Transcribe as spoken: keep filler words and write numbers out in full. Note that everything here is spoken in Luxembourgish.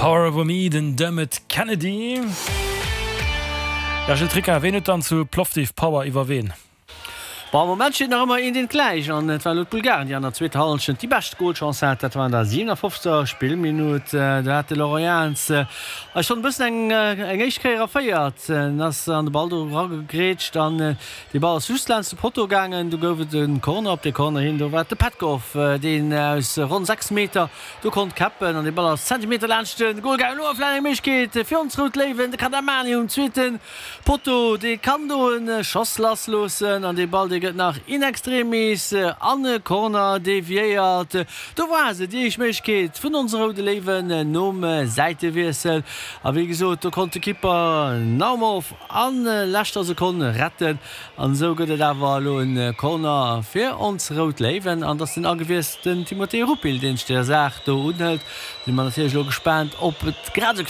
Power Over Me, den Dermot Kennedy. Ja, Gilles Tricca, ween huet dann zu Plovdiv Power iwwer ween? Bon, am Moment steet nach ëmmer eent eent gläich an et war elo d'Bulgaren, déi an der zweeter Hallschent déi bescht Golchance hat. Dat war an der siwenafofzegster. Spillminutt. Do hat de Laurent Jans eis schonn e bëssen eng eng éischt Kéier erféiert. En ass an de Ball do eragegrätscht an dee Ball ass just laanscht de Potto gaangen. Du gouf et e Corner. Op dee Corner hin, do war et de Petkov, deen aus ronn sechs Meter do konnt käppen an dee Ball ass Zentimeter laanscht de Gol gaangen. Elo awer vläicht eng Méiglechkeet fir ons Rout Léiwen. De Kadamani um zweete Potto, dee kann do e Schoss lassloossen an dee Ball, dee gëtt nach in extremis an e Corner deviéiert. Do war se, déi éischt Méiglechkeet vun onse Roude Léiwen nom Säitewiessel. A wéi gesot, do konnt de Kipper Naumov a leschter Sekonn retten. An esou gëtt et awer elo e Corner fir ons Rout Léiwen. An et ass den agewiesselten Timothée Rupil, deen sech der Saach do unhëlt. Si mer natierlech elo gespaant, ob et grad esou.